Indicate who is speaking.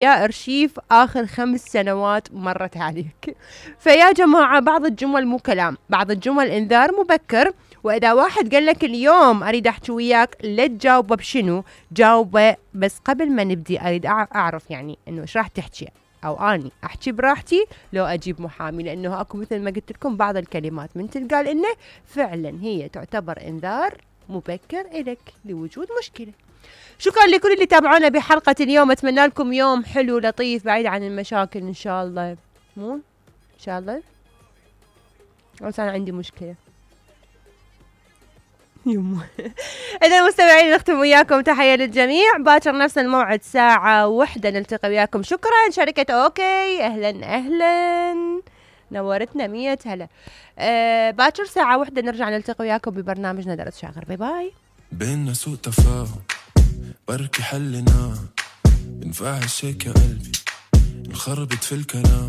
Speaker 1: يا ارشيف اخر 5 سنوات مرت عليك. فيا جماعة بعض الجمل مو كلام، بعض الجمل انذار مبكر. واذا واحد قال لك اليوم اريد احكي وياك، لا تجاوبه بشنو، جاوبه بس قبل ما نبدي اريد اعرف يعني انه ايش راح تحكي، او اني احكي براحتي لو اجيب محامي، لانه اكو مثل ما قلت لكم بعض الكلمات من تلقال انه فعلا هي تعتبر انذار مبكر الك لوجود مشكلة. شكرا لكل اللي تابعونا بحلقة اليوم، اتمنى لكم يوم حلو لطيف بعيد عن المشاكل ان شاء الله. مو ان شاء الله، بس انا عندي مشكلة يمه. اذا مستمعين نختم وياكم، تحية للجميع، باكر نفس الموعد ساعة 1 نلتقي وياكم. شكرا شركة اوكي، اهلا نورتنا 100 هلا. باكر ساعة 1 نرجع نلتقي وياكم ببرنامجنا درس شاغر. باي باي.
Speaker 2: بيننا سوء تفاهم بركي حلنا، ينفع هالشي كقلبي انخربت في الكلام.